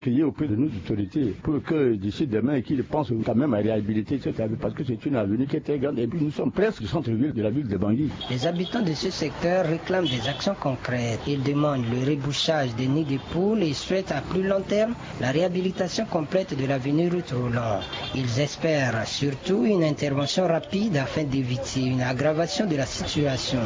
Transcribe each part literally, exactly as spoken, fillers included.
Prier auprès de nos autorités pour que d'ici demain, qu'ils pensent quand même à réhabiliter cette avenue, parce que c'est une avenue qui est très grande, et puis nous sommes presque du centre-ville de la ville de Bangui. Les habitants de ce secteur réclament des actions concrètes. Ils demandent le rebouchage des nids de poules et souhaitent à plus long terme la réhabilitation complète de l'avenue Ruth Roland. Ils espèrent surtout une intervention rapide afin d'éviter une aggravation de la situation.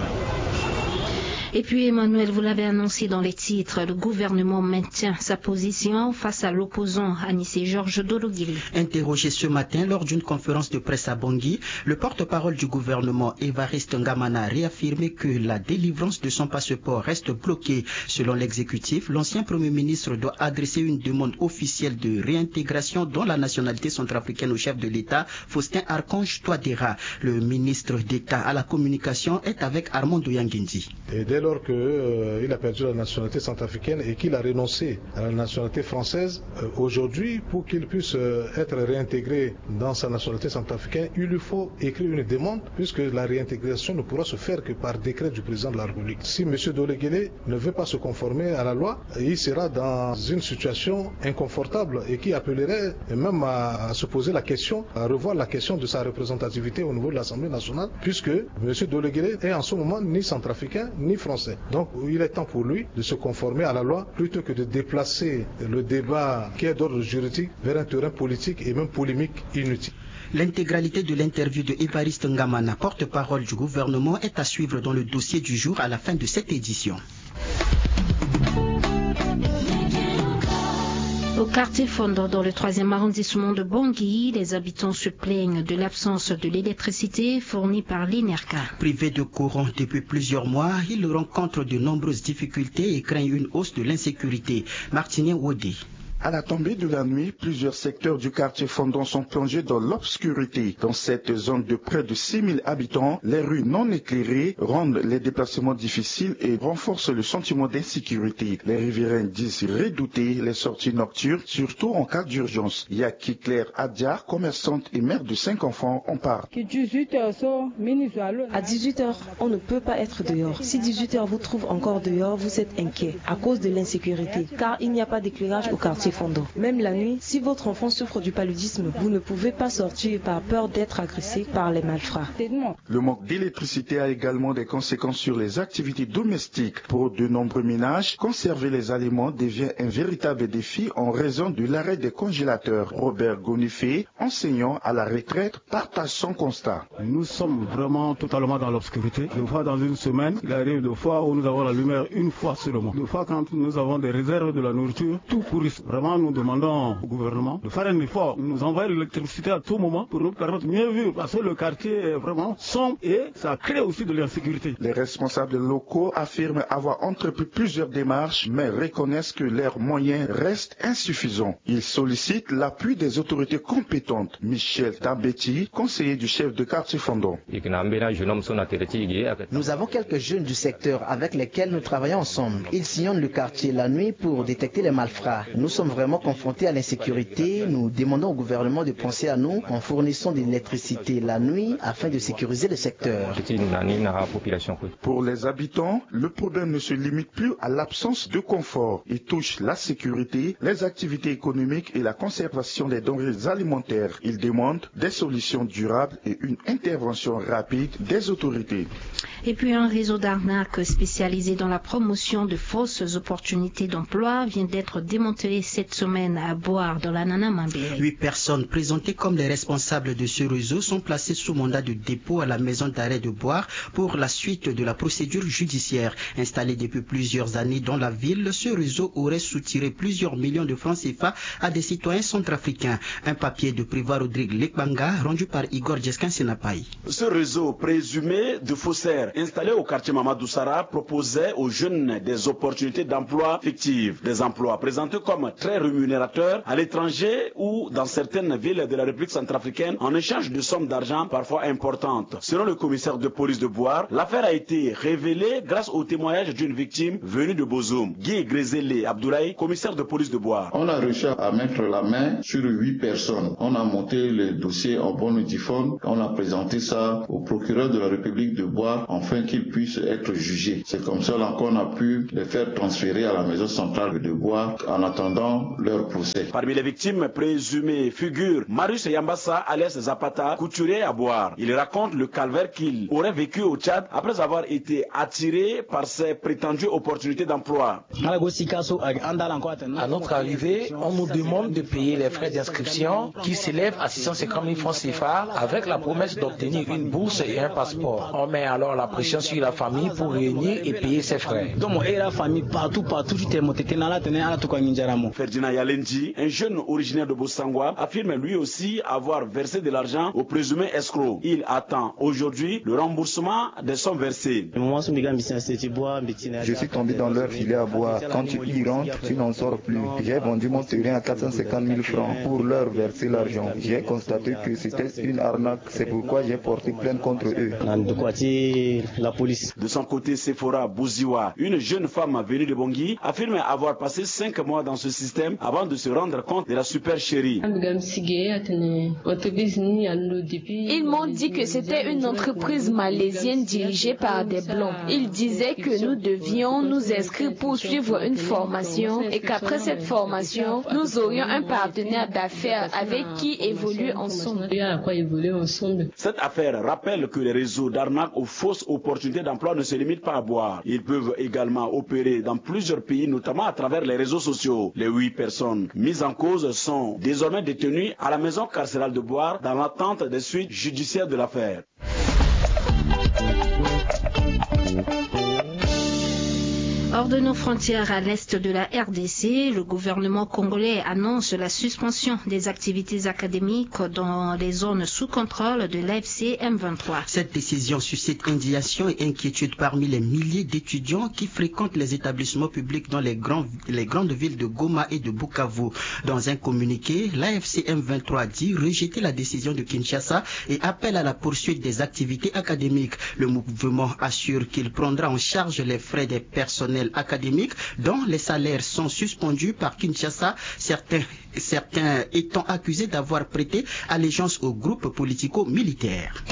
Et puis, Emmanuel, vous l'avez annoncé dans les titres, le gouvernement maintient sa position face à l'opposant Anissé Georges Dologuélé. Interrogé ce matin lors d'une conférence de presse à Bangui, le porte-parole du gouvernement, Évariste Ngamana, a réaffirmé que la délivrance de son passeport reste bloquée. Selon l'exécutif, l'ancien premier ministre doit adresser une demande officielle de réintégration dans la nationalité centrafricaine au chef de l'État, Faustin Archange Touadéra. Le ministre d'État à la communication est avec Armando Yangendi. Et dès lors que, euh, il a perdu la nationalité centrafricaine et qu'il a renoncé à la nationalité française, euh, aujourd'hui, pour qu'il puisse, euh, être réintégré dans sa nationalité centrafricaine, il lui faut écrire une demande, puisque la réintégration ne pourra se faire que par décret du président de la République. Si monsieur Dologuélé ne veut pas se conformer à la loi, il sera dans une situation inconfortable et qui appellerait même à, à se poser la question, à revoir la question de sa représentativité au niveau de l'Assemblée nationale, puisque monsieur Dologuélé est en ce moment ni centrafricain ni français. Donc il est temps pour lui de se conformer à la loi plutôt que de déplacer le débat qui est d'ordre juridique vers un terrain politique et même polémique inutile. L'intégralité de l'interview de Évariste Ngamana, porte-parole du gouvernement, est à suivre dans le dossier du jour à la fin de cette édition. Au quartier Fondo, dans le troisième arrondissement de Bangui, les habitants se plaignent de l'absence de l'électricité fournie par l'INERCA. Privés de courant depuis plusieurs mois, ils rencontrent de nombreuses difficultés et craignent une hausse de l'insécurité. Martinien Wodé. À la tombée de la nuit, plusieurs secteurs du quartier Fondon sont plongés dans l'obscurité. Dans cette zone de près de six mille habitants, les rues non éclairées rendent les déplacements difficiles et renforcent le sentiment d'insécurité. Les riverains disent redouter les sorties nocturnes, surtout en cas d'urgence. Yaki Claire Adia, commerçante et mère de cinq enfants, en parle. À dix-huit heures, on ne peut pas être dehors. Si dix-huit heures vous trouve encore dehors, vous êtes inquiet à cause de l'insécurité, car il n'y a pas d'éclairage au quartier Fondo. Même la nuit, si votre enfant souffre du paludisme, vous ne pouvez pas sortir par peur d'être agressé par les malfrats. Le manque d'électricité a également des conséquences sur les activités domestiques. Pour de nombreux ménages, conserver les aliments devient un véritable défi en raison de l'arrêt des congélateurs. Robert Gonifé, enseignant à la retraite, partage son constat. Nous sommes vraiment totalement dans l'obscurité. Des fois, dans une semaine, il arrive des fois où nous avons la lumière une fois seulement. Des fois, quand nous avons des réserves de la nourriture, tout pourrit. Vraiment, nous demandons au gouvernement de faire un effort, nous envoyer l'électricité à tout moment pour nous permettre de mieux vivre. Parce que le quartier est vraiment sombre et ça crée aussi de l'insécurité. Les responsables locaux affirment avoir entrepris plusieurs démarches, mais reconnaissent que leurs moyens restent insuffisants. Ils sollicitent l'appui des autorités compétentes. Michel Tambeti, conseiller du chef de quartier Fondon. Nous avons quelques jeunes du secteur avec lesquels nous travaillons ensemble. Ils sillonnent le quartier la nuit pour détecter les malfrats. Nous sommes vraiment confrontés à l'insécurité. Nous demandons au gouvernement de penser à nous en fournissant de l'électricité la nuit afin de sécuriser le secteur. Pour les habitants, le problème ne se limite plus à l'absence de confort. Il touche la sécurité, les activités économiques et la conservation des denrées alimentaires. Ils demandent des solutions durables et une intervention rapide des autorités. Et puis un réseau d'arnaques spécialisé dans la promotion de fausses opportunités d'emploi vient d'être démantelé cette semaine à Boar, dans l'Anana Mambéré. Huit personnes présentées comme les responsables de ce réseau sont placées sous mandat de dépôt à la maison d'arrêt de Boar pour la suite de la procédure judiciaire. Installé depuis plusieurs années dans la ville, ce réseau aurait soutiré plusieurs millions de francs C F A à des citoyens centrafricains. Un papier de Prévost Rodrigue Lekbanga rendu par Igor Djeskin Senapaï. Ce réseau présumé de faussaires installé au quartier Mamadou Sara proposait aux jeunes des opportunités d'emploi fictives, des emplois présentés comme très rémunérateurs à l'étranger ou dans certaines villes de la République centrafricaine en échange de sommes d'argent parfois importantes. Selon le commissaire de police de Boar, l'affaire a été révélée grâce au témoignage d'une victime venue de Bozoum, Guy Grezele Abdoulaye, commissaire de police de Boar. On a réussi à mettre la main sur huit personnes. On a monté le dossier en bonne et due forme. On a présenté ça au procureur de la République de Boar afin qu'il puisse être jugé. C'est comme ça là qu'on a pu les faire transférer à la maison centrale de Boar. En attendant, Leur procès. Parmi les victimes présumées figure Marius Yambassa alias Zapata, couturier à Bouar. Il raconte le calvaire qu'il aurait vécu au Tchad après avoir été attiré par ses prétendues opportunités d'emploi. À notre arrivée, on nous demande de payer les frais d'inscription qui s'élèvent à six cent cinquante mille francs C F A avec la promesse d'obtenir une bourse et un passeport. On met alors la pression sur la famille pour réunir et payer ses frais. Ferdinand Yalendi, un jeune originaire de Bossangwa, affirme lui aussi avoir versé de l'argent au présumé escroc. Il attend aujourd'hui le remboursement des sommes versées. Je suis tombé dans leur filet à bois. Quand tu y rentres, tu n'en sors plus. J'ai vendu mon terrain à quatre cent cinquante mille francs pour leur verser l'argent. J'ai constaté que c'était une arnaque. C'est pourquoi j'ai porté plainte contre eux. De son côté, Sephora Bouziwa, une jeune femme venue de Bangui, affirme avoir passé cinq mois dans ce système avant de se rendre compte de la supercherie. Ils m'ont dit que c'était une entreprise malaisienne dirigée par des Blancs. Ils disaient que nous devions nous inscrire pour suivre une formation et qu'après cette formation, nous aurions un partenaire d'affaires avec qui évoluer ensemble. Cette affaire rappelle que les réseaux d'arnaque aux fausses opportunités d'emploi ne se limitent pas à Bouar. Ils peuvent également opérer dans plusieurs pays, notamment à travers les réseaux sociaux. Les huit personnes mises en cause sont désormais détenues à la maison carcérale de Bouar dans l'attente des suites judiciaires de l'affaire. Hors de nos frontières, à l'est de la R D C, le gouvernement congolais annonce la suspension des activités académiques dans les zones sous contrôle de l'A F C M vingt-trois. Cette décision suscite indignation et inquiétude parmi les milliers d'étudiants qui fréquentent les établissements publics dans les, grands, les grandes villes de Goma et de Bukavu. Dans un communiqué, l'A F C M vingt-trois dit rejeter la décision de Kinshasa et appelle à la poursuite des activités académiques. Le mouvement assure qu'il prendra en charge les frais des personnels académiques dont les salaires sont suspendus par Kinshasa, certains, certains étant accusés d'avoir prêté allégeance au groupe politico-militaire.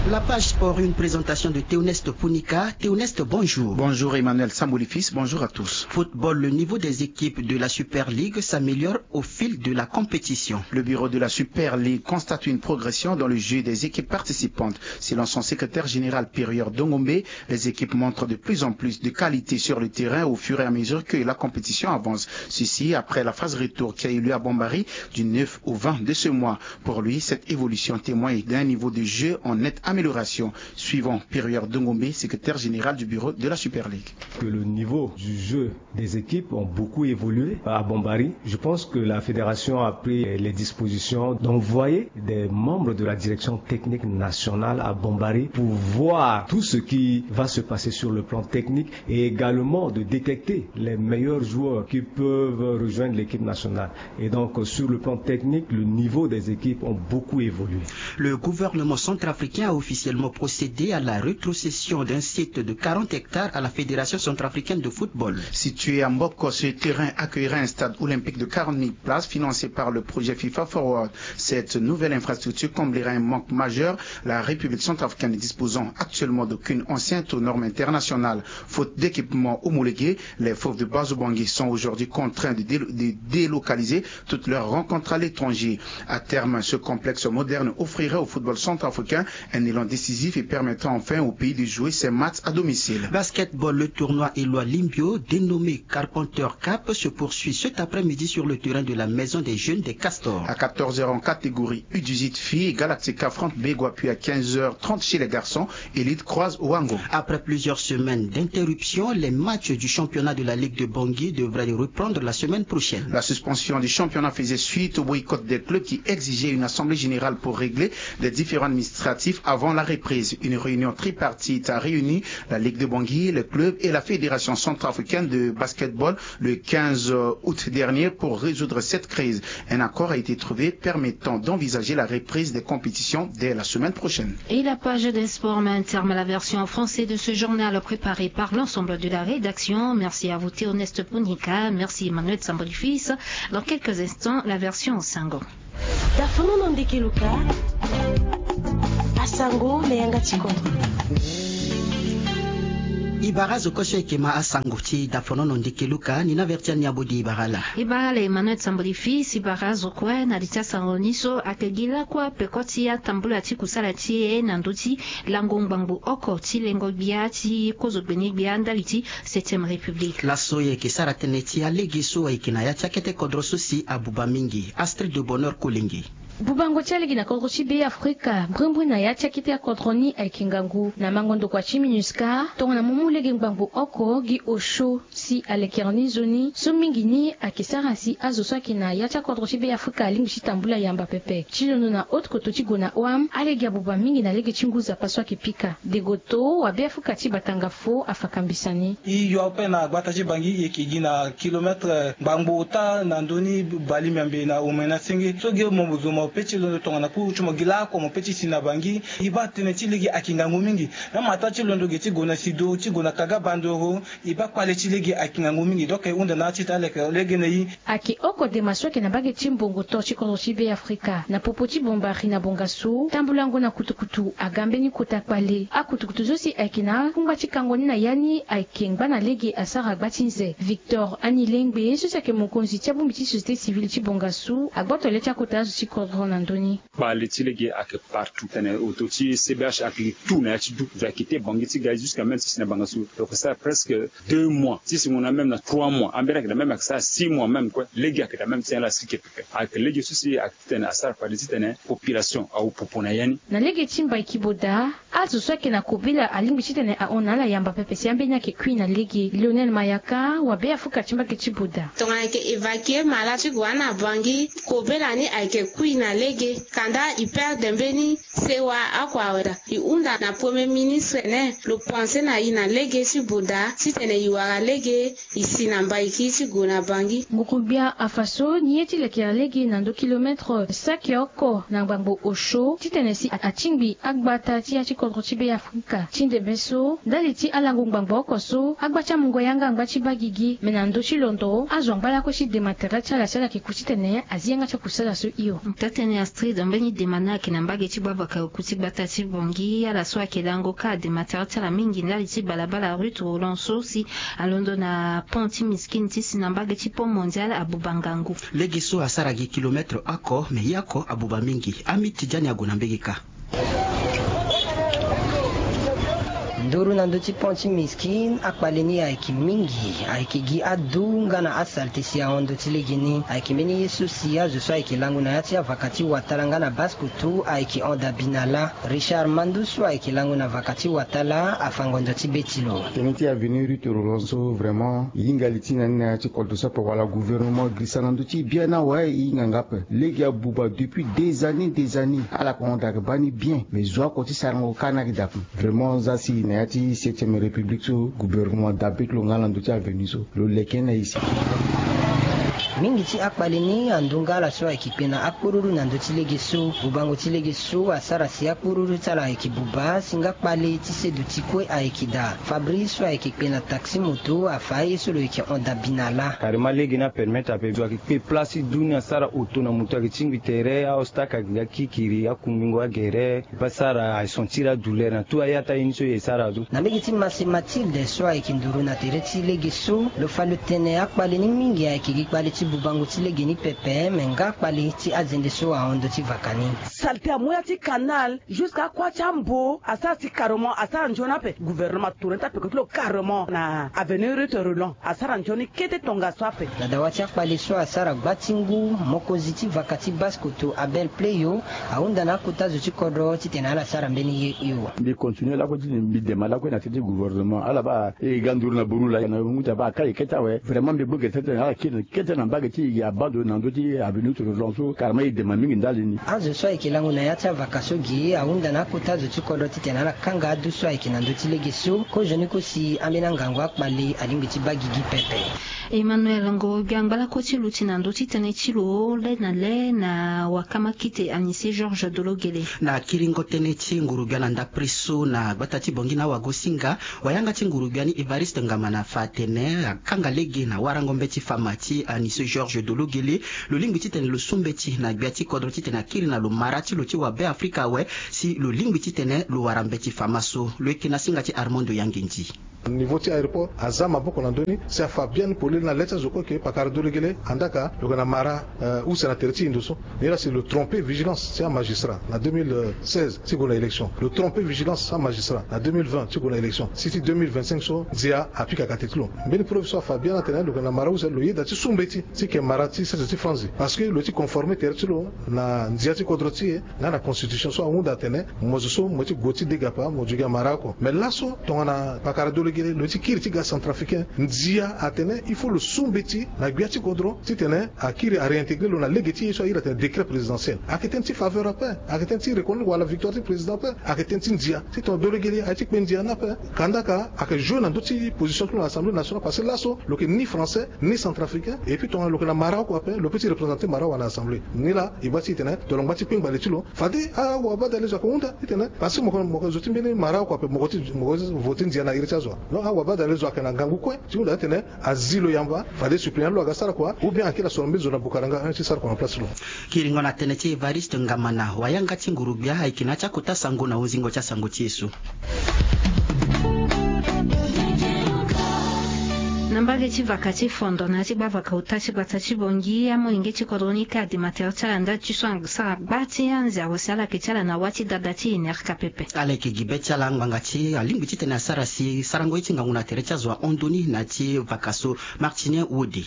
La page sport, une présentation de Théoneste Punika. Théoneste, bonjour. Bonjour Emmanuel Samboulifis, bonjour à tous. Football, le niveau des équipes de la Super League s'améliore au fil de la compétition. Le bureau de la Super League constate une progression dans le jeu des équipes participantes. Selon son secrétaire général Périor Dongombe, les équipes montrent de plus en plus de qualité sur le terrain au fur et à mesure que la compétition avance. Ceci après la phase retour qui a eu lieu à Bombari du neuf au vingt de ce mois. Pour lui, cette évolution témoigne d'un niveau de jeu en nette amélioration, suivant Périor Dongombe, secrétaire général du bureau de la Super League. Que le niveau du jeu des équipes ont beaucoup évolué à Bombari. Je pense que la fédération a pris les dispositions d'envoyer des membres de la direction technique nationale à Bombari pour voir tout ce qui va se passer sur le plan technique et également de détecter les meilleurs joueurs qui peuvent rejoindre l'équipe nationale. Et donc, sur le plan technique, le niveau des équipes ont beaucoup évolué. Le gouvernement centrafricain a officiellement procédé à la rétrocession d'un site de quarante hectares à la Fédération centrafricaine de football. Situé à Mboko, ce terrain accueillera un stade olympique de quarante mille places financé par le projet FIFA Forward. Cette nouvelle infrastructure comblera un manque majeur, la République centrafricaine ne disposant actuellement d'aucune enceinte aux normes internationales. Faute d'équipement homologué, les Fauves de Bazobangi sont aujourd'hui contraints de, délo de délocaliser toutes leurs rencontres à l'étranger. À terme, ce complexe moderne offrirait au football centrafricain un élan décisif et permettra enfin au pays de jouer ses matchs à domicile. Basketball, le tournoi élois Limbio, dénommé Carpenter Cup, se poursuit cet après-midi sur le terrain de la Maison des Jeunes des Castors. À quatorze heures en catégorie U dix-huit filles, Galactica affronte Begwa, puis à quinze heures trente chez les garçons, Elite croise Wango. Après plusieurs semaines d'interruption, les matchs du championnat de la Ligue de Bangui devraient reprendre la semaine prochaine. La suspension du championnat faisait suite au boycott des clubs qui exigeaient une assemblée générale pour régler des différends administratifs avant la reprise. Une réunion tripartite a réuni la Ligue de Bangui, les clubs et la Fédération centrafricaine de basketball le quinze août dernier pour résoudre cette crise. Un accord a été trouvé permettant d'envisager la reprise des compétitions dès la semaine prochaine. Et la page des sports met un terme à la version en français de ce journal préparé par l'ensemble de la rédaction. Merci à vous Théoneste Punika, merci Emmanuel Sambolifis. Dans quelques instants, la version en sango. Dafono na ndeke luka asango na yanga tikondo. E bara azo kue so ayeke ma asango ti dafonono ndeke luka ni na verti ani abodi e bara ala. E bara ala emmanuel samboli fils e bara azo kue na li ti asango ni so ayeke gi lakue peko ti atambula ti kusala ti e na ndö ti lango ngbangbo oko ti lengo gbia ti kozo gbeni gbia ndali ti septième république. Laso e yeke sara tënë ti alege so ayeke na ya ti akete kodro so si abuba mingi. Astrid de bonheur kolenge. Bubango ti alege na kodro ti be afrika mbrimbri na ya ti akete akodro ni ayeke ngangu na mango ndokua ti minusca tongana mo mu lege ngbangbo oko gi osio si alekere ni nzoni so mingi ni ayeke sara si azo so ayeke na ya ti akodro ti be afrika alingbi ti tambula yamba pepe ti londo na haute koto ti gue na oam alege abuba mingi na lege ti ngu zapa so ayeke pika degoto wa be afrika ti batanga fo afa kambisa ni. E yo ape na gbata ti bangi e yeke gi na kilometre ngbangbo ota na ndö ni bali miambe na omena senge so gi mo zo mo pe ti londo tongana kuru ti mo gi laoko mo pe ti si na bangi. E baa tënë ti lege ayeke ngangu mingi. Même ataa ti londo ge ti gue na sido ti gue na kaga bandoro. E baa kpale ti lege ayeke ngangu mingi donc e hunda na ya ti ita aleke lege na e. Ayeke oko dema so ayeke na mbage ti mbongo to ti kodro ti be afrika na popo ti bombari na bongasu tambulango na kutukutu aga mbeni kota kpale akutukutu so si ayeke na akungba ti kango ni na ya ni ayeke ngba na lege asara gba ti nze victor anilengbe so si ayeke mokonzi ti abongbi ti société civile ti bongasu agboto le ti akota azo ti kodro na ndö ni. Kpale ti lege ayeke partout tene oto ti cbh ayeke li tout na ya ti du zo ayeke te bangi ti ga jusqu'à même ti si na bangasu lo yeke sara presque deux mois ti si ngu na même na trois mois ambeni ayeke na même ayeke sara six mois même kue lege ayeke na même ti ala sike pepe ayeke lege so si ayeke titene asara kpale titene population awu popo na ya ni. Na lege ti mbai kiboda azo so ayeke na kobela alingbi titene ahon na ala yamba pepe si ambeni ayeke kui na lege lionel mayaka wa be afrika ti mbage ti boda. Tongana ayeke évacue mala ti gue na bangi kobela ni ayeke kui na lege kanda e perde mbeni sewa oko aweda e hunda na premier ministre ne lo pense na e na lege ti boda titene e wara lege e si na mbaiki ti gue na bangi. Nguru-gbia afa so ni ye ti leke na lege na ndö kilometre saki oko na ngbangbo osio titene si atingbi agbata ti ya ti kodro ti be afrika ti ndembe so ndali ti alango ngbangbo oko so agba ti amungo yanga angba ti baa gigi me na ndö ti londo azo angba lakue ti dema tere ti ala si ala yeke ku titene azi yanga ti akusala so hio. Taa-tënë astrid mbeni dema ni ayeke na mbage ti gbavaka oku ti gbata ti bongi ala so ayeke lango ka adema tere ti ala mingi ndali ti balabala ruth roland so si alondo na pont ti miskine ti si na mbage ti pont mondial abuba ngangu. Lege so asara gi kilometre oko me ye oko abuba mingi. Ami ti jani ague na mbege ka. Nduru na ndö ti pont ti miskine akpale ni ayeke mingi ayeke gi adu nga na asalte si ahon ndö ti legeni ayeke mbeni ye so si azo so ayeke lango na ya ti avaka ti watala nga na basse-kotto ayeke hon dabi na lâ. Richard mandu so ayeke lango na vaka ti watala afango ndo ti be ti lo. Tënë ti avenue ruth roland so vraiment e hinga li ti na ni na ya ti kodro so ape wala gouvernement girisa na ndö ti e bien ni awe e hinga nga ape. Lege abuba depuis des années des années ala kongo daa ayeke baa ni bien mais zo oko ti sarango kâ ni ayeke daa ape. Vraiment za si na ya ti septième république so gouvernement daa be ti lo nga na ndö ti avenue so lo leke ni na e si. Mingi ti akpale ni ando nga ala so ayeke kpe na akporuru na ndö ti lege so bubango ti lege so asara si akporuru ti ala ayeke buba si nga kpale ti seduti kue ayeke daa fabrice so ayeke kpe na taxi moto afa aye so lo yeke hon dabi na lâ. Karema lege ni apermettre ape zo ayeke kpe place ti du ni asara oto na moto ayeke tingbi tere aostak ayeke ga kikiri akumbingo agere. Pe asara aye sentir adouleur na tout aye ataa ye ni so e sara ado. Na mbege ti mase mathilde so ayeke nduru na tere ti lege so lo fa lo tene akpale ni mingi ayeke gi kpale ti bubango ti lege ni pepe me nga akpale ti azende so ahon ndo ti vaka ni. Salte amu ya ti kanal jusque akua ti ambo asara si karement asara nzoni ape gouvernement atourne ti ape koti lo karement na avenue ruth roland asara nzoni kete tongaso ape. Na dawa ti akpale so asara gba ti ngu mokonzi ti vaka ti basse-kotto abel pleyo ahunda na akota zo ti kodro titene ala sara mbeni ye hio. Mbi continue lakue titene mbi dema lakue na tete ti gouvernement ala baa e ga nduru na buru laa na ngu ti abaa akai kete awe vraiment mbi gbu gere titene ala kiri kete na mbage ti e gi abandon na ndö ti avenue ti roland so karama e dema mingi ndali ni. Azo so ayeke lango na ya ti avaka so gi ahunda na akota zo ti kodro titene ala kanga adu so ayeke na ndö ti lege so kozoni kosi ambeni angangu akpale alingbi ti baa gigi pepe. Emmanuel ngoro-gbia angba lakue ti luti na ndö ti tënë ti lo le na le na wakamakite anise georges dologele. Na kiringo tënë ti nguru-gbia na ndapre so na gbata ti bongi na awagosinga wayanga ti nguru-gbia ni evariste ngama na fa atene akanga lege na warango mbeti fama ti anise georges dologele. Lo lingbi titene lo su mbeti na gbia ti kodro titene akiri na lo mara ti lo ti wabe afrika awe si lo lingbi titene lo wara mbeti fama so lo yeke na singa ti armando yangendi. Niveau ti aéroport aza maboko na ndö ni si afa biani polele na le ti azo kue ke pakara dolegele andaka lo yeke na mara use na tere ti e ndo so. Ni la si lo trompe vigilance ti amagistrat na deux mille seize ti gue na élection, lo trompe vigilance ti amagistrat na deux mille vingt ti gue na élection, si ti deux mille vingt-cinq so ndia apikaka te ti lo. Mbeni preuve so afa biani atene lo yeke na mara use lo yeda ti su mbeti ti yeke mara ti sese ti franzi parce que lo ye ti conforme tere ti lo na ndia ti kodro ti e nga na constitution so ahunda atene mo zo so mo ye ti gue ti degapa mo zo gi amara oko. Mais laso tongana pakara dolegele lo ye ti kiri ti ga centrafricain, ndia atene il faut lo su mbeti na gbia ti kodro titene akiri aréintégrer lo na lege ti ye so ahiri atene décret présidentiel. Ayeke tënë ti faveur ape, ayeke tënë ti reconnaître wala victoire ti président ape. Ayeke tënë ti ndia titene dolegele aye ti kpe ndia ni ape. Kandaka ayeke jouer na ndö ti position ti lo na assemblée nationale parce que laso lo yeke ni français ni centrafricain. Et puis tongana lo yeke na mara oko ape lo peut ti représenter mara awa na assemblée. Ni la e baa ti e tene tongana lo ngba ti kpengba le ti lo fade awabadale zo ayeke hunda titene parce que mo yeke zo ti mbeni mara oko ape mo yeke ti voter ndia na iri ti azo. Donc awabadale zo ayeke na ngangu kue ti hunda titene azi lo yamba fade suppléant ti lo aga sara kua ou bien akiri asoro mbeni zo na bukaranga ti sara kua na place ti lo. Kiringo na tënë ti Évariste Ngamana, wayanga ti nguru-gbia ayeke na ya ti akota sango na hunzingo ti asango ti e so. Na mbage ti vaka ti Fondo na ya ti gbavaka ota ti gbata ti Bangui, amolenge ti kodro ni ka adema tere ti ala ndali ti so asara gba ti anzia awe si ala yeke ti ala na wâ ti dada ti e ni arka pepe. Ala yeke gi be ti ala ngbanga ti alingbi titene asara si sarango ye ti ngangu na tere ti azo ahon ndoni na ya ti vaka so. Martinien Wode.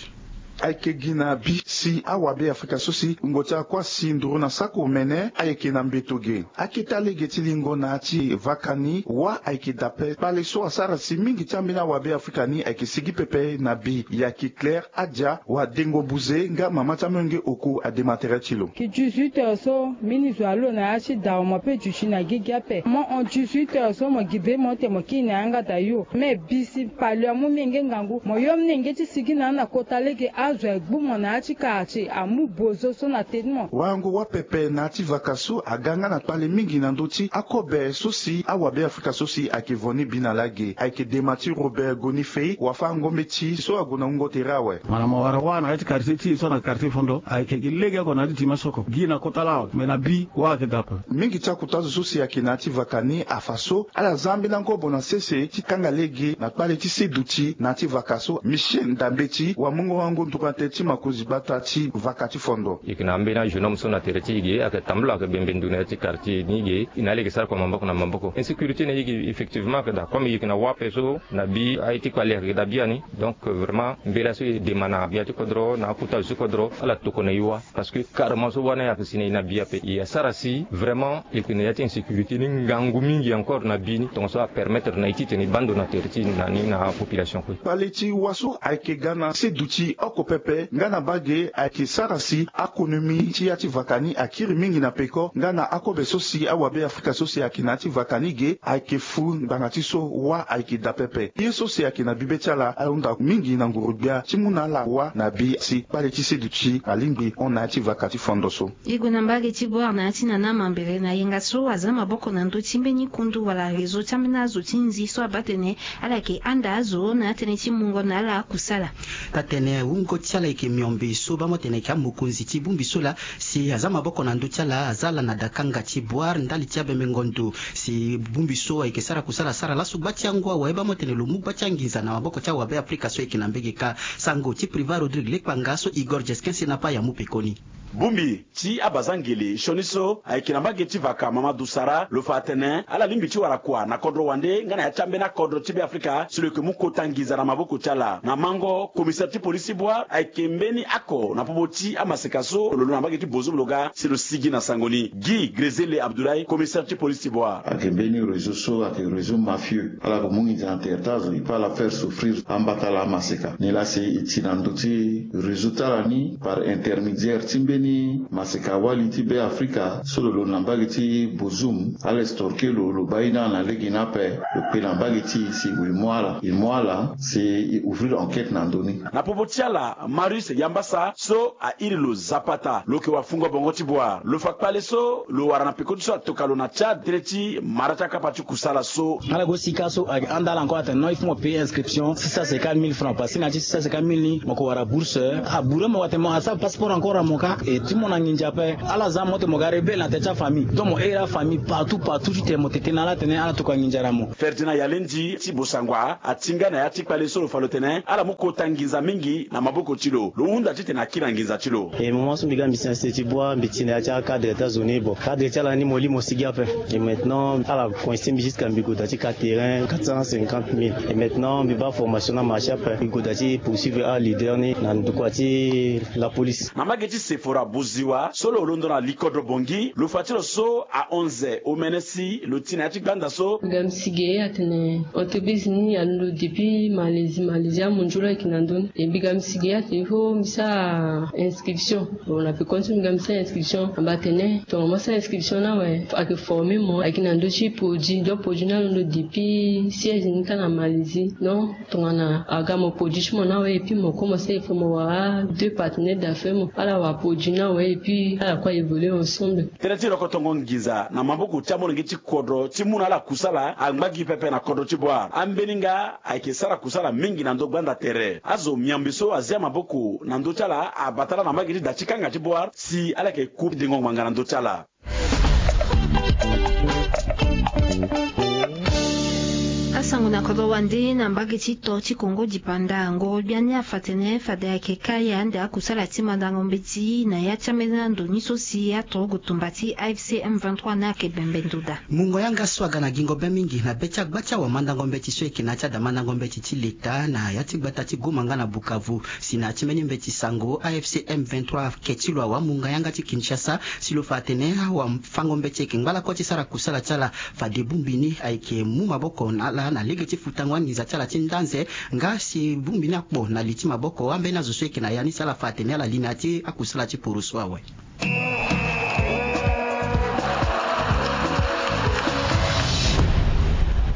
Ayeke gi na bi si awabe afrika so si wungo ti akua si nduru na sako mene ayeke na mbeto ge. Aketa lege ti lingo na ya ti vaka ni wâ ayeke dape kpale so asara si mingi ti ambeni awabe afrika ni ayeke sigi pepe na bi. Yaki Claire Adia wa Dengo Buze nga mama ti amolenge oko adema tere ti lo. Ki dix-huit heures so mbeni zo alo na ya ti da mo pe duti na gigi ape. Mo hon dix-huit heures so mo gi be mo ete mo kiri na yanga da yo. Me bi si pale amu menge ngangu mo yo menge ti sigi na na kota lege azo agbu mo na ya ti quartier amu bozo so na teni mo. Warango wâ pepe na ya ti vaka so aga nga na kpale mingi na ndö ti akobe so si awabe afrika so si ayeke vo ni bi na lage. Ayeke dema ti Robert Gonifei wa fâ ngombe ti so ague na wungo tere awe. Mo na mo wara wâ na ya ti quartier ti e so na quartier Fondo ayeke gi lege oko na ya ti tima so oko gi na kota laa awe me na bi wâ ayeke dape. Mingi ti akota zo so si ayeke na ya ti vaka ni afa so ala za ambeni angobo na sese ti kanga lege na kpale ti seduti na ya ti vaka so. Michel Ndambeti wa mungo wango nduru na tënë ti makonzi gbata ti vaka ti Fondo. E yeke na ambeni ajeune homme so na tere ti e ge ayeke tambula ayeke bembe ndo na ya ti quartier ni ge e na ala yeke sara kua maboko na maboko. Insécurité na e ge effectivement ayeke daa comme e yeke na wâ ape so na bi aye ti kpale ayeke daa biani. Donc vraiment mbela so e dema na gbia ti kodro na akota zo ti kodro ala tokua na e wâ. Parce que carrément so wâ ni ayeke si na e na bi ape e asara si vraiment e yeke na ya ti insécurité ni ngangu mingi encore na bi ni tongaso apermettre na e titene e baa ndo na tere ti e na ni na apopulation kue. Kpale ti wâ so ayeke ga na seduti oko pepe nga na bage ayeke sara si akonomi ti ya ti vaka ni akiri mingi na peko nga na akobe so si awabe afrika so si ayeke na ya ti vaka ni ge ayeke fu ngbanga ti so wâ ayeke daa pepe. Ye so si ayeke na bibe ti ala ahunda mingi na nguru-gbia ti mu na ala wâ na bi si kpale ti seduti alingbi hon na ya ti vaka ti Fondo so. E gue na mbage ti Boar na ya ti nana mambere na yenga so aza maboko na ndö ti mbeni kundu wala réseau ti ambeni azo ti nzi so abaa tene ala yeke handa azo na ya tënë ti mungo na ala akusala. Taa-tënë wungo ti ala yeke miombe so baa mo tene ayeke amokonzi ti bongbi so laa si aza maboko na ndö ti ala aza ala na dakanga ti Boar ndali ti abembengo ndo si bongbi so ayeke sara kusala asara laso gba ti angu awe baa mo tene lo mu gba ti anginza na maboko ti awabe afrika so ayeke na mbege kâ. Sango ti Privat Rodrigue Lekpanga so Igor Jesquin Senapa amu pekoni. Bongbi ti abazangele sioni so ayeke na mbage ti vaka Mamadou Sara lo fa atene ala lingbi ti wara kua na kodro wande nga na ya ti ambeni akodro ti Beafrika si lo yeke mu kota nginza na maboko ti ala. Na mango commissaire ti polisi ti Boar ayeke mbeni ako na popo ti amaseka so lo londo na mbage ti Bozoum lo ga si lo sigi na sango ni. Guy Grezele Abdoulaye, commissaire ti polisi ti Boar. Ayeke mbeni réseau so ayeke réseau mafieux. Ala yeke mu nginza na tere ti azo, il peut ala faire souffrir ambata laa amaseka. Nilaa si e ti na ndö ti réseau ti ala ni par intermédiaire ti mbeni maseka-wali ti Beafrika so lo londo na mbage ti Bozoum, ala extorquer lo, lo baa ye ni ala na lege ni ape, lo kpe na mbage ti e si e mu ala, e mu ala si e ouvrir enquête na ndö ni. Na popo ti ala, Marius Yambasa so a iri lo Zapata, lo yeke wafungo bongo ti Boar, lo fa kpale so lo wara na peko ti so atoka lo na Tchad tënë ti mara ti akapa ti kusala so. Ala go sika so ayeke handa ala encore atene non, il faut mo payer inscription six cent cinquante mille francs, parce que na ya ti six cent cinquante mille ni mo yeke wara bourse. Abure mo atene mo asara passeport encore na mo kâ. E ti mo na nginza ape, ala za mo tene mo ga rebelle na tere ti afamille, donc mo here afamille partout partout titene mo tete na ala tene ala tokua nginza na mo. Ferdinand Yalendi ti Bossangoa atinga na ya ti kpale so lo fa lo tene ala mu kota nginza mingi na maboko ti lo, lo hunda titene akiri na nginza ti lo. E moment so mbi ga mbi si na sese ti bua mbi ti na ya ti acadre ti azo ni, bon, cadre ti ala ni mo li mo sigi ape. E maintenant ala coince mbi jusqu'à mbi gue daa ti ka terrain quatre cent cinquante mille. E maintenant mbi baa formation na marché ape, mbi gue daa ti poursuivre aleader ni na ndokua ti la police. Na mbage ti Sephora Boziwa so lo londo na likodro Bangui, lo fa ti lo so ahon ze omene si lo ti na ya ti gbanda so. Mbi ga mbi sigi atene entreprise ni alondo depuis Malaisie, Malaisie amu nzoni ayeke na ndö ni. E mbi ga mbi sigi atene il faut mbi sara inscription. Bon, na pekoni so mbi ga mbi sara inscription, amba atene tongana mo sara inscription ni awe, ayeke former mo, ayeke na ndö ti produit, donc produit ni alondo depuis siège ni kâ na Malaisie. Donc tongana aga mo produit ti mo ni awe, et puis mo commencer, il faut mo wara deux partenaires d'affaires, mo ala wara produit ni awe, et puis ala kue évoluer ensemble. Tënë ti rokotongo nginza na maboko ti amolenge ti kodro ti mu na ala kusala angba gi pepe na kodro ti Bouar. Ambeni nga ayeke sara kusala mingi na ndö gbanda tere. Azo miombe so azia maboko na ndö ti ala abata ala na mbage ti da ti kanga ti Bouar si ala yeke ku dengo ngbanga na ndö ti ala. Asango na kodro wande na mbage ti to ti Kongo dipanda, ngoro biani afa tene fade ayeke kai ande akusala ti mandango mbeti na ya ti ambeni ando ni so si atorogo tumba ti A F C M vingt-trois ni ayeke bembe ndoda. Mungo yanga so aga na gingo be mingi na be ti agba ti awamandango mbeti so eke na ya ti ada mandango mbeti ti leta na ya ti gbata ti Goma nga na Bukavu. Si na ya ti mbeni mbeti sango, A F C M vingt-trois ake ti lo awamungo yanga ti Kinshasa si lo fa atene awafango mbeti eke ngbalako ti sara kusala ti ala. Fade bongbi ni ayeke mu maboko na ala na lege ti futango anginza ti ala ti ndanze, nga si bongbi ni akpo na li ti maboko ambeni azo so eke na ya ni si ala fa atene ala li na ya ti akusala ti poroso awe.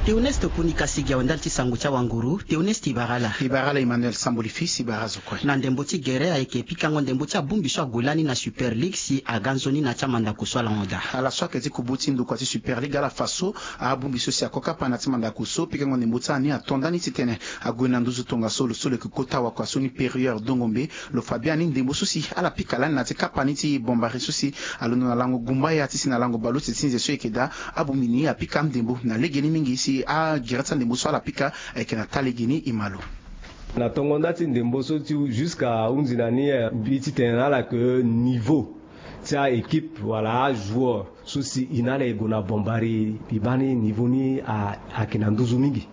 Théoneste Kuni Kasigi awe ndali ti sango ti awanguru. Théoneste, i bara ala. I bara ala Emmanuel Samboli Fils, i bara azo kue. Na ndembo ti gere ayeke pikango ndembo ti abongbi so ague lani na Super League si aga nzoni na ya ti amandako so ala hon daa. Ala so ayeke ti kubu ti ndokua ti Super League ala fa so abongbi so si ako kapa na ya ti mandako so pikango ndembo ti ala ni ato ndani titene ague na nduzu tongaso lo so lo yeke kota wakua so ni Périeur Dongombe. Lo fa biani ndembo so si ala pika lani na ya ti kapa ni ti Bombari so si alondo na lango gumbaya ti si na lango baleuse ti nze so eke daa. Abongbi ni apika ndembo na legeni mingi si agere ti andembo so ala pika ayeke na taa legeni. E ma lo. Na tongo nda ti ndembo so ti jusqu'à hunzi na ni, eh, mbi titene na ala ke niveau ti a-équipe wala ajoueur so si e na ala e gue na Bombari, e baa ni niveau ni a, ayeke na nduzu mingi.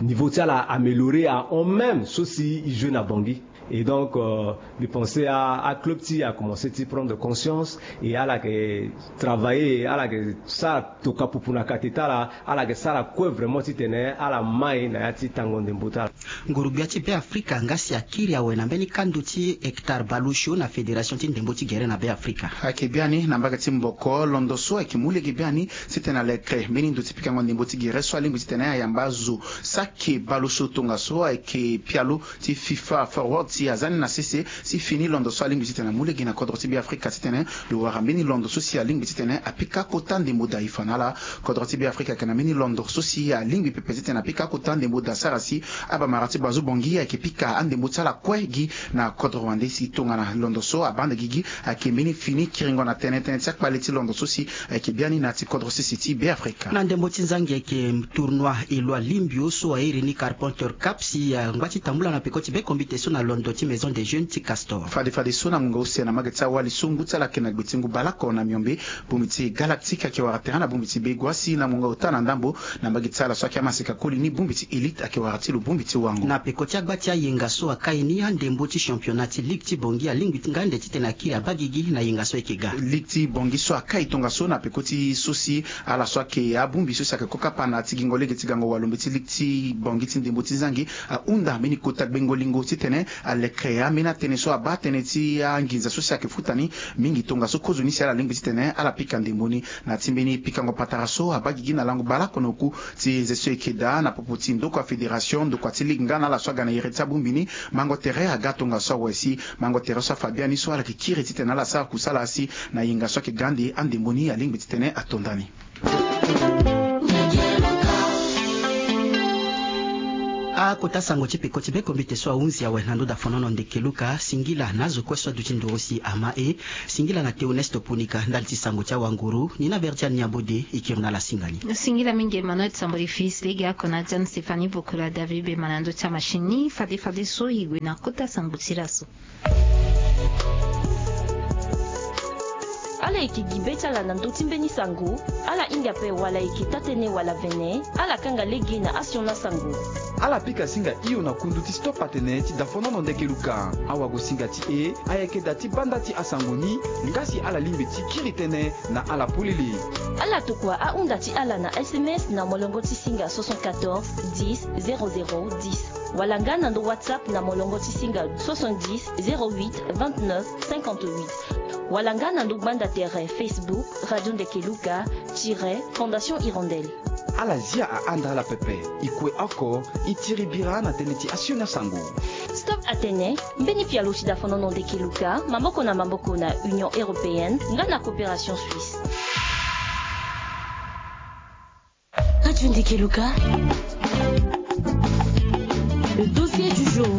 Niveau ti ala a amélioré ahon même so si e joué na Bangui. Et donc, euh, mbi pensé a, aclub ti e akomense ti prendre conscience et ala yeke travailler, ala yeke sara toka pupu na kate ti ala, ala yeke sara kue vraiment titene ala mai na ya ti tango ndembo ti ala. Nguru-gbia ti Beafrika nga si akiri awe na mbeni kando ti Hector Balusho na fédération ti ndembo ti gere na Beafrika. Ayeke biani na mbage ti Mboko, londo so ayeke mu lege biani titene alekere mbeni ndo ti pikango ndembo ti gere so alingbi titene ayamba zo. Sake Balusho tongaso ayeke pialo ti FIFA Forward si aza ni na sese si fini londo so alingbi titene amu lege na kodro ti Beafrika titene lo wara mbeni londo so si alingbi titene apika kota ndembo daa. E fa na ala, kodro ti Beafrika ayeke na mbeni londo so si alingbi pepe titene apika kota ndembo daa sara si abamara ti Bazu Bangui ayeke pika andembo ti ala kue gi na kodro wande si tongana londo so abaa ande gigi ayeke mbeni fini kiringo na tënë tënë ti akpale ti londo so si ayeke biani na ya ti kodro sese ti Beafrika. Na ndembo ti nzangi ayeke tournoi Eloi Limbio so airi ni Carpenter Cup si angba ti tambula na peko ti be kombite so na londo ti Maison des Jeunes ti Castor. Fade fadeso na ngonga use na mbage ti awali so ngu ti ala ayeke na gbe ti ngu baleoko na miombe, bongbi ti Galactique ayeke wara terrain na bongbi ti Begoua si na ngonga ota na ndambo na mbage ti ala so ayeke amaseka koli ni bongbi ti Elite ayeke wara ti lo bongbi ti wango. Na peko ti agba ti ayenga so akai ni andembo ti championnat ti Ligue ti Bangui alingbi ti nga ande titene akiri abaa gigi na yenga so ayeke ga. Ligue ti Bangui so akai tongaso na peko ti so si ala so ayeke abongbi so si ayeke kokapa na ya ti gingo lege ti gango walombe ti Ligue ti Bangui ti ndembo ti nzangi ahunda mbeni kota gbengo lingo titene aleke ambeni atënë so abaa tënë ti anginza so si ayeke futa ni mingi tongaso kozoni si ala lingbi titene ala pika ndembo ni. Na ya ti mbeni pikango patara so abaa gigi na lango baleoko na oku ti nze so eke daa na popo ti ndokua fédération, ndokua ti ligue nga na ala so aga na iri ti abongbi ni, mango tere aga tongaso awe si mango tere so afa biani so ala yeke kiri titene ala sara kusala si na yenga so ayeke ga ande andembo ni alingbi titene ato ndani. Akota sango ti peko ti bekombite so ahunzi awe na ndo dafonono ndeke Luka. Singila na azo kue so aduti nduru si ama e. Singila na Théoneste Ponika ndali ti sango ti awanguru. Ni na Verdiane Niabode e kiri na ala singa ni. Singila mingi Emmanuel Sambori fils lege ako na Diane Stéphanie Bokola David Bema na ndo ti amachine ni. Fade fade so e gue na kota sango ti laso. Ala yeke gi be ti ala na ndö ti mbeni sango. Ala hinga ape wala e yeke taa-tënë wala vene. Ala kanga lege na asioni asango. Ala pika singa hio na kundu ti stop atene ti dafonono ndeke Luka. Awagosinga ti e ayeke da ti banda ti asango ni. Nga si ala lingbi ti kiri tënë na ala polele. Ala tokua ahunda ti ala na S M S na molongo ti singa soixante-quatorze dix zéro zéro dix. Wala nga na ndo WhatsApp na molongo ti singa soixante-dix zéro huit vingt-neuf cinquante-huit. Wala nga na ndo gbanda tere Facebook Radio Ndeke Luka tiret Fondation Hirondelle. Ala zia ahanda ala pepe. E kue oko, e tiri bira na tënë ti asioni asango. Stop atene, mbeni pialo ti dafonono ndeke Luka, maboko na maboko na Union Européenne nga na Coopération Suisse. Radio Ndeke Luka. Le dossier du jour.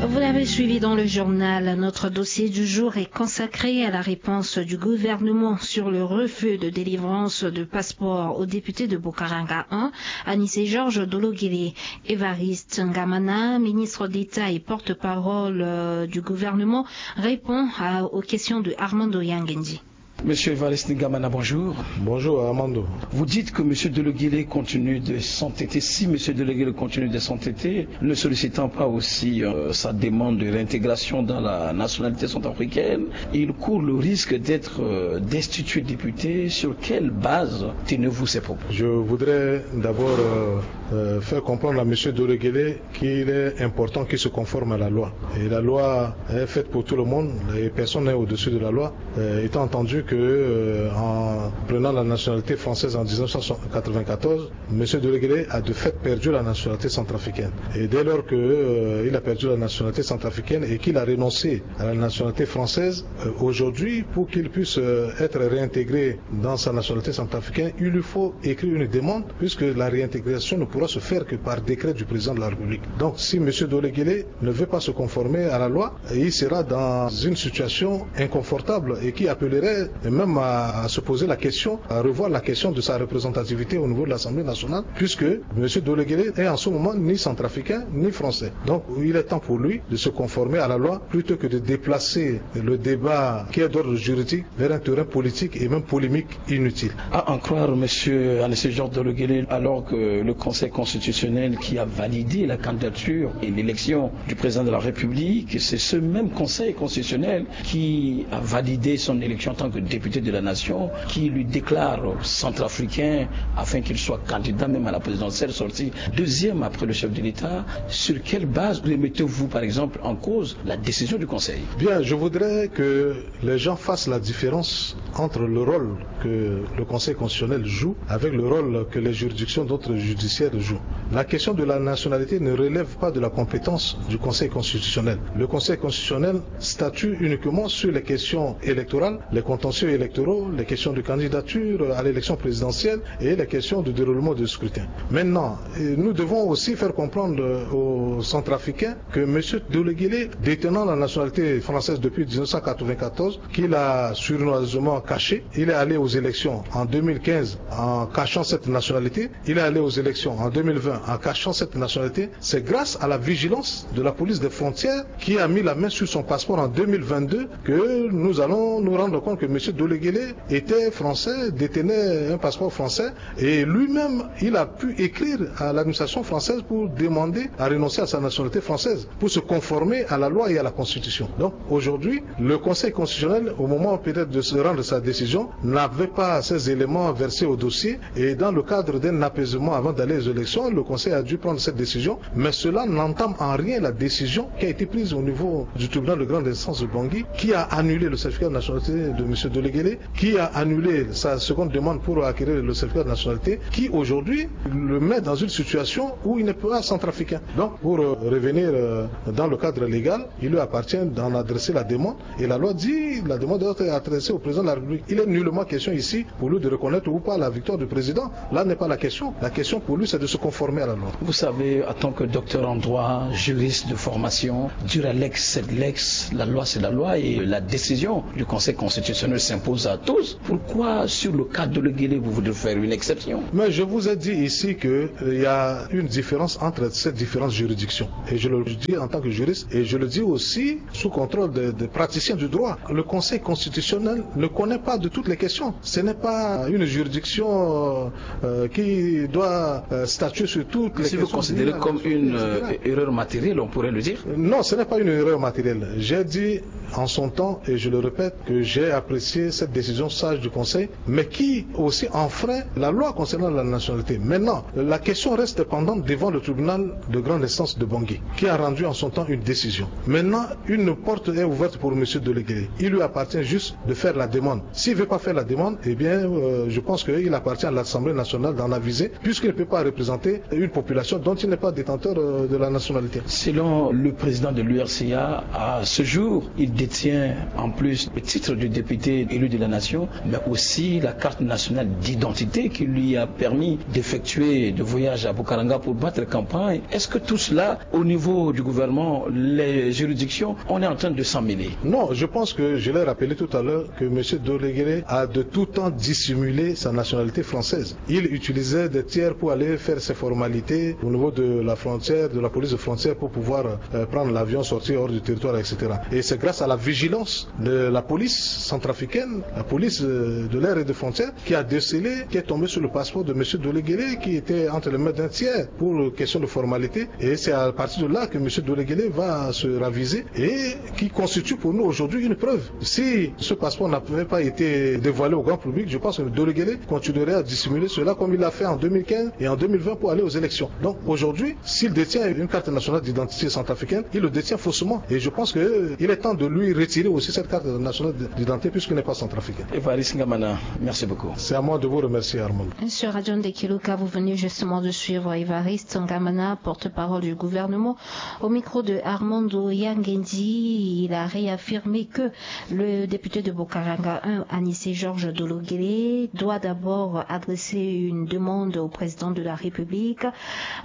Vous l'avez suivi dans le journal, notre dossier du jour est consacré à la réponse du gouvernement sur le refus de délivrance de passeport au député de Bokaranga un, Anissé Georges Dologele. Évariste Ngamana, ministre d'État et porte-parole, euh, du gouvernement, répond à, aux questions de Armando Yangendi. Monsieur Évariste Ngamana, bonjour. Bonjour, Armando. Vous dites que Monsieur Dologele continue de s'entêter. Si Monsieur Dologele continue de s'entêter, ne sollicitant pas aussi, euh, sa demande de réintégration dans la nationalité centrafricaine, il court le risque d'être, euh, destitué député. Sur quelle base tenez-vous ces propos ? Je voudrais d'abord, euh, euh, faire comprendre à Monsieur Dologele qu'il est important qu'il se conforme à la loi. Et la loi est faite pour tout le monde et personne n'est au-dessus de la loi. Euh, étant entendu que, euh, en prenant la nationalité française en dix-neuf cent quatre-vingt-quatorze, Monsieur Dologele a de fait perdu la nationalité centrafricaine. Et dès lors que, euh, il a perdu la nationalité centrafricaine et qu'il a renoncé à la nationalité française, euh, aujourd'hui, pour qu'il puisse, euh, être réintégré dans sa nationalité centrafricaine, il lui faut écrire une demande, puisque la réintégration ne pourra se faire que par décret du président de la République. Donc, si Monsieur Dologele ne veut pas se conformer à la loi, il sera dans une situation inconfortable et qui appellerait même à, à se poser la question, à revoir la question de sa représentativité au niveau de l'Assemblée nationale, puisque Monsieur Dologele est en ce moment ni centrafricain ni français. Donc, il est temps pour lui de se conformer à la loi plutôt que de déplacer le débat qui est d'ordre juridique vers un terrain politique et même polémique inutile. À en croire Monsieur Anissé Georges Dologele, alors que le Conseil constitutionnel qui a validé la candidature et l'élection du président de la République, c'est ce même Conseil constitutionnel qui a validé son élection en tant que député de la nation, qui lui déclare centrafricain afin qu'il soit candidat même à la présidentielle, sorti deuxième après le chef de l'État. Sur quelle base remettez-vous, par exemple, en cause la décision du Conseil ? Bien, je voudrais que les gens fassent la différence entre le rôle que le Conseil constitutionnel joue avec le rôle que les juridictions d'autres judiciaires jouent. La question de la nationalité ne relève pas de la compétence du Conseil constitutionnel. Le Conseil constitutionnel statue uniquement sur les questions électorales, les contentieux électoraux, les questions de candidature à l'élection présidentielle et les questions de déroulement de scrutin. Maintenant, euh, nous devons aussi faire comprendre aux Centrafricains que Monsieur Dologele, détenant la nationalité française depuis dix-neuf cent quatre-vingt-quatorze, qu'il a sournoisement caché, il est allé aux élections en deux mille quinze en cachant cette nationalité, il est allé aux élections en deux mille vingt en cachant cette nationalité. C'est grâce à la vigilance de la police des frontières qui a mis la main sur son passeport en deux mille vingt-deux que nous allons nous rendre compte que Monsieur Dologele était français, détenait un passeport français, et lui-même, il a pu écrire à l'administration française pour demander à renoncer à sa nationalité française, pour se conformer à la loi et à la Constitution. Donc, aujourd'hui, le Conseil constitutionnel, au moment peut-être de se rendre sa décision, n'avait pas ces éléments versés au dossier, et dans le cadre d'un apaisement avant d'aller aux élections, le Conseil a dû prendre cette décision, mais cela n'entame en rien la décision qui a été prise au niveau du tribunal de grande instance de Bangui, qui a annulé le certificat de nationalité de Monsieur Dologele, qui a annulé sa seconde demande pour acquérir le certificat de nationalité, qui aujourd'hui le met dans une situation où il n'est pas centrafricain. Donc, pour, euh, revenir, euh, dans le cadre légal, il lui appartient d'en adresser la demande. Et la loi dit, la demande doit être adressée au président de la République. Il est nullement question ici pour lui de reconnaître ou pas la victoire du président. Là n'est pas la question. La question pour lui, c'est de se conformer à la loi. Vous savez, en tant que docteur en droit, juriste de formation, dure à l'ex, c'est de l'ex, la loi, c'est la loi, et la décision du Conseil constitutionnel s'impose à tous. Pourquoi, sur le cas de Dologuélé, vous voudrez faire une exception ? Mais je vous ai dit ici que, euh, il y a une différence entre ces différentes juridictions. Et je le dis en tant que juriste, et je le dis aussi sous contrôle des, des praticiens du droit. Le Conseil constitutionnel ne connaît pas de toutes les questions. Ce n'est pas une juridiction, euh, euh, qui doit, euh, statuer sur toutes les questions. Si vous considérez comme une, euh, erreur matérielle, on pourrait le dire. Non, ce n'est pas une erreur matérielle. J'ai dit en son temps, et je le répète, que j'ai apprécié cette décision sage du Conseil, mais qui aussi enfreint la loi concernant la nationalité. Maintenant, la question reste pendante devant le tribunal de grande instance de Bangui, qui a rendu en son temps une décision. Maintenant, une porte est ouverte pour Monsieur Dologuélé. Il lui appartient juste de faire la demande. S'il veut pas faire la demande, eh bien, euh, je pense qu'il appartient à l'Assemblée nationale d'en aviser, puisqu'il ne peut pas représenter une population dont il n'est pas détenteur, euh, de la nationalité. Selon le président de l'U R C A, à ce jour, il détient en plus le titre de député élu de la nation, mais aussi la carte nationale d'identité qui lui a permis d'effectuer des voyages à Bukaranga pour battre campagne. Est-ce que tout cela, au niveau du gouvernement, les juridictions, on est en train de s'en mêler ? Non, je pense que je l'ai rappelé tout à l'heure que Monsieur Dologuélé a de tout temps dissimulé sa nationalité française. Il utilisait des tiers pour aller faire ses formalités au niveau de la frontière, de la police de frontière, pour pouvoir, euh, prendre l'avion, sortir hors du territoire, et cetera. Et c'est grâce à la vigilance de la police centrafricaine, la police, euh, de l'air et de frontière, qui a décelé, qui est tombé sur le passeport de Monsieur Dologuélé, qui était entre les mains d'un tiers pour question de formalité. Et c'est à partir de là que Monsieur Dologuélé va se raviser et qui constitue pour nous aujourd'hui une preuve. Si ce passeport n'avait pas été dévoilé au grand public, je pense que Dologuélé continuerait à dissimuler cela comme il l'a fait en deux mille quinze et en deux mille vingt pour aller aux élections. Donc aujourd'hui, s'il détient une carte nationale d'identité centrafricaine, il le détient faussement. Et je pense que, euh, il est temps de lui retirer aussi cette carte nationale d'identité puisqu'il n'est pas centrafricain. Évariste Ngamana, merci beaucoup. C'est à moi de vous remercier, Armand. Sur Radio Ndekiluka, vous venez justement de suivre Évariste Ngamana, porte-parole du gouvernement, au micro de Armando Yangendi. Il a réaffirmé que le député de Bukaranga un, Anissé Georges Dologuélé, doit d'abord adresser une demande au président de la République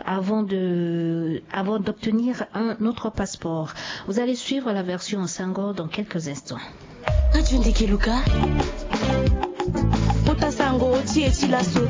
avant de, avant d'obtenir un autre passeport. Vous allez suivre la version en sango dans quelques instants. Radio Ndekiluka. Kota sango ti e ti laso.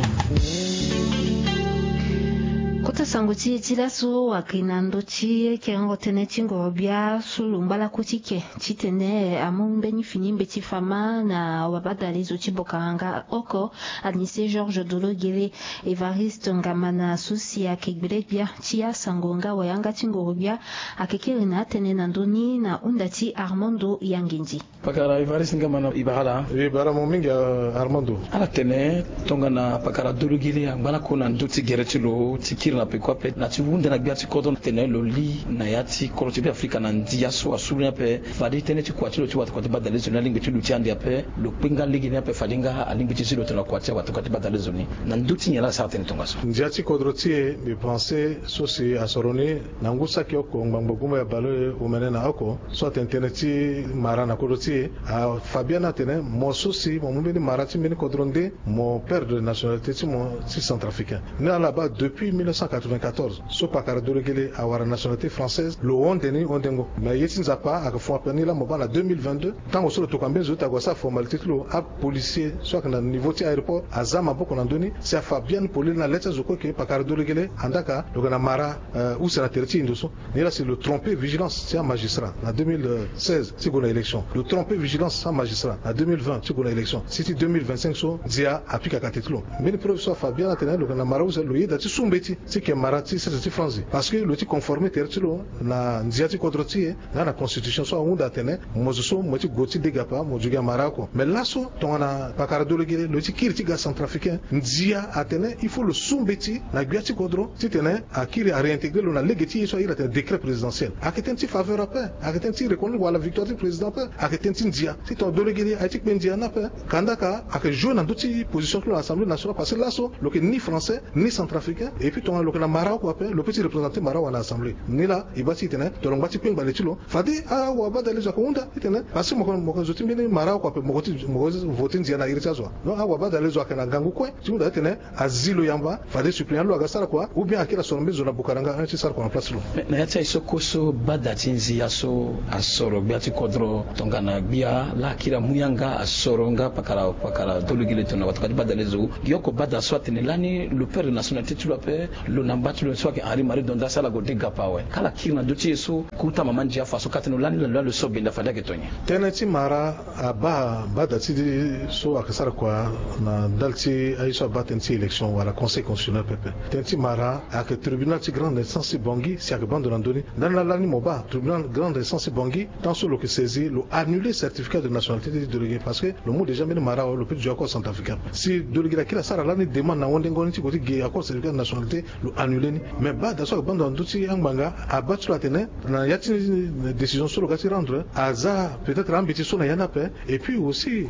Kota sango ti e ti laso, ayeke na ndö ti ekerengo tënë ti ngoro-gbia so lo ngba lakue ti ke titene amu mbeni fini mbeti fama na wabadale zo ti Bukaranga oko, Anissé Georges Dologuélé. Évariste Ngamana so si ayeke gbele-gbia ti asango nga wayanga ti ngoro-gbia, ayeke kiri na atënë na ndö ni na hunda ti Armando Yangendi. Pakara Évariste Ngamana, e bara ala? E bara mo mingi, euh, Armando. Ala tene tongana pakara Dologuélé angba lakue na ndö ti gere ti lo ti kiri na peko ape na ti hunda na gbia ti kodro, tene lo li na ya ti kodro ti Be Afrika na ndia so asuru ni ape, fade tënë ti kua ti lo ti watakua ti badale zo ni alingbi ti luti ande ape. Lo kpe nga lege ni ape, fade nga alingbi ti zi lo tongana kua ti awatakua ti badale zo ni. Na ndö ti nyen la asara tënë tongaso? Ndia ti kodro ti e, mbi pense so si asoro ni na ngu saki oko ngbangbo gumbaya baleomene na oko, so atene tënë ti mara na kodro ti e, afa biani atene mo so si mo mu mbeni mara ti mbeni kodro nde, mo perdre nationalité ti mo ti centrafricain. Ni ala baa depuis mille neuf cent quatre-vingt-quatorze so pakara Dologuélé awara nationalité française, lo hunde ni hundengo. Mais ye ti Nzapa ayeke fo ape ni laa mo baa na deux mille vingt-deux, tango so lo tokua mbeni zo ti ague asara formalité ti lo, apolicier so ayeke na niveau ti aéroport aza maboko na ndö ni si afa biani polele na le ti azo kue ke pakara Dologuélé andaa ka lo yeke na mara, euh, use na tere ti e ndo so. Ni laa si lo trompe vigilance ti amagistrat na deux mille seize ti gue na élection, lo trompe vigilance ti amagistrat na deux mille vingt ti gue na élection, si ti deux mille vingt-cinq so ndia apika kate ti lo. Mbeni preuve so afa biani atene lo yeke na mara use, lo yeda ti su mbeti ti ke mara ti sese ti France, parce que lo ti conformer tere ti lo na ndia ti kodro ti e nga na constitution so ahunda atene mo zo so mo ye ti gue ti degapa, mo zo gi amara oko. Mais laso tongana pakara Dologuélé lo ye ti kiri ti ga centrafricain, ndia atene il faut lo su mbeti na gbia ti kodro titene akiri aréintégrer lo na lege ti ye so ahiri atene décret présidentiel. Ayeke tënë ti faveur ape, ayeke tënë ti reconnaître wala victoire ti président ape, ayeke tënë ti ndia. Si tongana Dologuélé aye ti kpe ndia ni ape, kanda ka ayeke jouer na ndö ti position ti lo na Assemblée nationale, parce que laso lo yeke ni français ni centrafricain. Et puis tongana Lo yeke na mara oko ape, lo peut ti représenter mara oko na assemblée. Ni laa e baa ti e tene tongana lo ngba ti kpengba le ti lo, fade awabadale zo ayeke hunda ti tene, parce que mo yeke zo ti mbeni mara oko ape, mo yeke ti mo yeke voter ndia na iri ti azo wa. Donc awabadale zo ayeke na ngangu kue ti hunda ti tene azi lo yamba, fade suppléant lo aga sara kua, ou bien akiri asoro mbeni zo na Bukaranga un ti sara kua na place ti lo. Mais na ya ti aye so kue so bada ti nzia so asoro gbia ti kodro tongana gbia laa akiri amu yanga asoro nga pakara pakara dolegele tongana watokua ti badale zo. Gi oko bada so atene lani lo perdre nationalité ti lo ape, lo na mba ti lo so ayeke Henri Marie Donda si ala gue de gapa awe. Kala kiri na ndö ti e so kota mama ndia fa so ka tene lo lani lo lani lo so benda fade ayeke tongana nyen? Tënë ti mara abaa bada ti so ayeke sara kua na ndali ti aye so abaa tënë ti élection wala conseil constitutionnel pepe. Tënë ti mara ayeke tribunal ti grande instance ti Bangui si ayeke baa ndo na ndö ni. Ndani laa lani mo baa tribunal grande instance ti Bangui, tant so lo yeke saisi, lo annuler certificat de nationalité ti dolegele parce que lo mu déjà mbeni mara awe, lo peut ti zo accord centrafricain. Si dolegele akiri asara lani demande na wendengo ni ti gue ti ge accord certificat de nationalité, lo annuler ni. Mais bada so ayeke baa ndo na ndö ti angbanga abaa ti lo atene na ya ti décision so lo ga ti rendre aza peut-être ambeti so na ya ni ape. Et puis aussi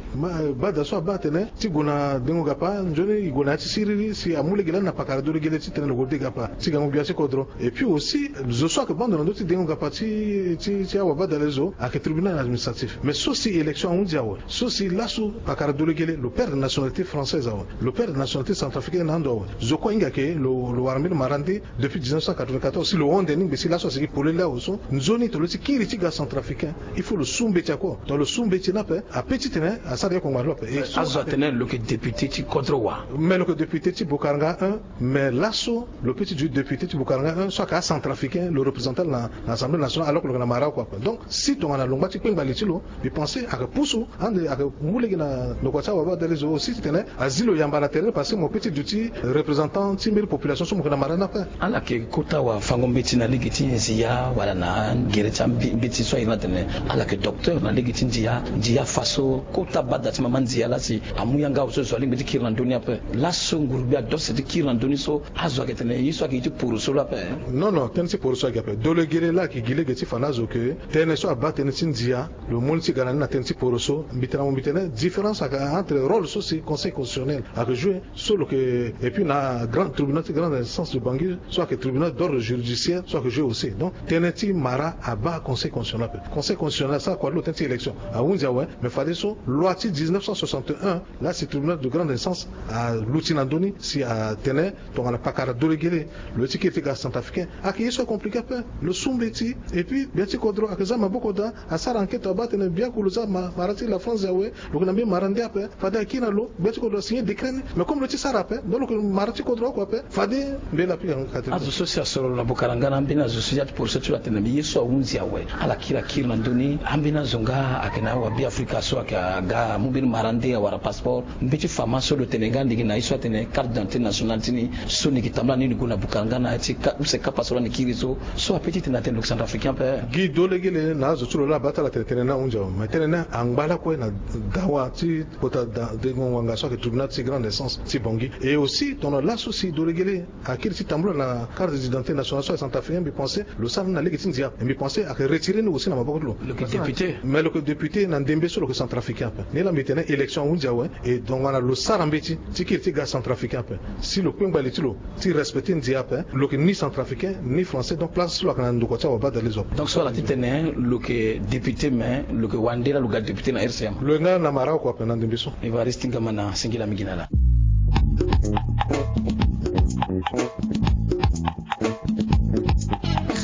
bada so abaa atene ti gue na dengo gapa nzoni e gue na ya ti siriri si amu lege lani na pakara dolegele ti tene lo gue de gapa ti gango gbia ti kodro. Et puis aussi zo so ayeke baa ndo na ndö ti dengo gapa ti ti ti awabadale zo ayeke tribunal administratif. Mais so si élection ahunzi awe, so si laso pakara dolegele lo perdre nationalité française awe, lo perdre nationalité centrafricaine na ando awe, zo kue ahinga ke lo lo wara mbeni mara nde depuis dix-neuf cent quatre-vingt-quatorze si lo honde ni ngbe si laso asigi polele awe so nzoni tongana lo ti kiri ti ga centrafricain, il faut lo su mbeti ako. Tongana lo su mbeti ni ape ape ti tene asara ye kongba na lo ape. Azo atene lo yeke député ti kodro wa. Mais lo yeke député ti Bukaranga un. Mais laso lo peut ti duti député ti Bukaranga un so ayeke acentrafricain, lo représentant na assemblée nationale alors que lo yeke na mara oko ape. Donc si tongana lo ngba ti kpengba li ti lo, mbi pense ayeke pusu ande ayeke mu lege na ndokua ti awabadale zo aussi ti tene azi lo yamba na tere parce que mo peut ti duti représentant ti mbeni population so mo yeke na mara ni ape. Ala yeke kota wafango mbeti na lege ti nzia wala na gere ti ambeti so airi ni atene ala yeke docteur na lege ti nzia. Nzia fa so kota bada ti mama nzia laa si amu yanga awe so zo alingbi ti kiri na ndö ni ape. Laso ngurugbia adose ti kiri na ndö ni so azo ayeke tene ye so ayeke ye ti poroso laa ape. Non non, tënë ti poroso ayeke ape. Dolegele laa ayeke gi lege ti fa na azo ke tënë so abaa tënë ti nzia lo mu ni ti ga na ni na tënë ti poroso. Mbi tene na mo mbi tene différence ayeke entre rôle so si conseil constitutionnel ayeke jouer so lo yeke et puis na grand tribunal ti grande instance de Bangui so ayeke tribunal d'ordre juridiciaire so ayeke jouer aussi. Donc tënë ti mara abaa conseil constitutionnel ape. Conseil constitutionnel asara kua ti lo tënë ti élection ahunzi awe. Mais fadeso loi ti dix-neuf cent soixante-et-un laa si tribunal de grande instance aluti na ndö ni si atene tongana pakara dolegele lo ye ti kiri ti ga centrafricain ayeke ye so acompliqué ape. Lo su mbeti et puis gbia ti kodro ayeke za maboko daa. Asara enquête abaa atene biaku lo za mara ti la France awe. Lo yeke na mbeni mara nde ape. Fade akiri na lo gbia ti kodro asigné décret ni. Mais comme lo ye ti sara ape donc lo yeke mara ti kodro oko ape. Fade mbeni apika. Azo so si asoro lo na Bukaranga na ambeni azo so ya ti poroso ti lo atene mbi ye so ahunzi awe. Ala kiri akiri na ndö ni. Ambeni azo nga ayeke na awabiafrika so ayeke aga amu mbeni mara nde awara passeport. Mbeti fama so lo tene nga lege na ye so atene carte d'identité nationale ti ni so ni yeke tambula ni ni gue na Bukaranga na ya ti use kapa so lani kiri so. So ape ti tene atene lo yeke centrafricain ape. Gi dolegele na azo ti lo laa abaa ti ala tene tënë ni ahunzi awe. Mais tënë ni angba lakue na dawa ti kota dengo ngbanga so ayeke tribunal ti grande instance ti Bangui. Et aussi tongana laso si dolegele akiri ti tambula na carte d'identité nationale so ayeke centrafricain mbi pense lo sara ni na lege ti ndia. Mbi pense ayeke retirer ni aussi na maboko ti lo. Lo yeke député. Mais lo yeke député na ndembe so lo yeke centrafricain ape. Ni laa mbi tene élection ahunzi awe. Et donc tongana lo sara mbeti ti kiri ti ga centrafricain ape si lo kpengba li ti lo ti respecter ndia ape, lo yeke ni centrafricain ni français. Donc place ti lo ayeke na ndokua ti awabadale zo ape. Donc so ala ti tene lo yeke député mais lo yeke wande laa lo ga député na R C M. Lo yeke nga na mara oko ape na ndembe so. Évariste Ngamana, singila mingi na ala.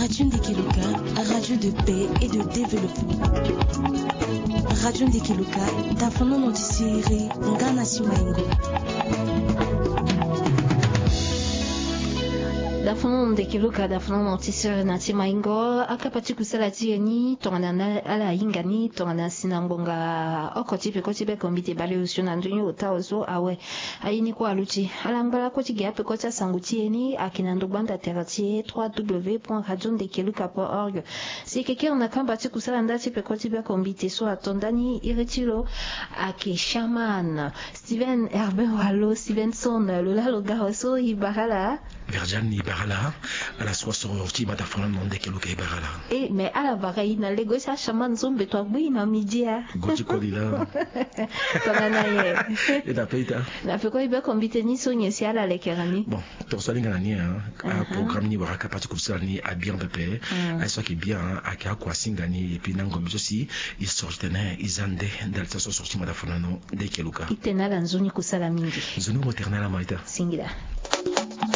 Radio Ndekeluka, radio de paix et de développement. Radio Ndekeluka, dafono notisiere nga na ti maingo. Dafono Ndekeluka, dafono notisiere na ti maingo. Akapa ti kusala ti e ni tongana ala hinga ni tongana si na ngbonga oko ti peko ti beko mbi te baleosio na ndoni ota ozo awe. Aye ni kue aluti ala ngba lakue ti ge apeko ti asango ti e ni ayeke na ndogba nda tere ti e trois w point radio ndekeluka point org. Si e yeke kiri na kamba ti kusala nda ti peko ti beko mbi te so ato ndani iri ti lo ayeke chaman Steven Herbert Walo Stevenson lo laa lo ga awe so e bara ala. Verdiane, e bara ala. Ala so asorti mata fana na ndeke luka, e bara ala. E mais ala bara e na lego si achaman nzombe to agbu e na midi a. Go ti koli la. Tongana ye. E na pe ita. Na peko e be kombi teni so nyen si ala lekera ni. Bon, tonso alinga na ni, hein. Programme ni wara kapa ti kufusala ni abien pepe. Aye so ayeke bien, hein, ayeke akua asinga ni. Et puis na ngombe so si e sorti tene e za nde ndali ti aso sorti mata fana na ndeke luka. E tene ala nzoni kusala mingi. Nzoni ngo tene ala ma ita. Singila.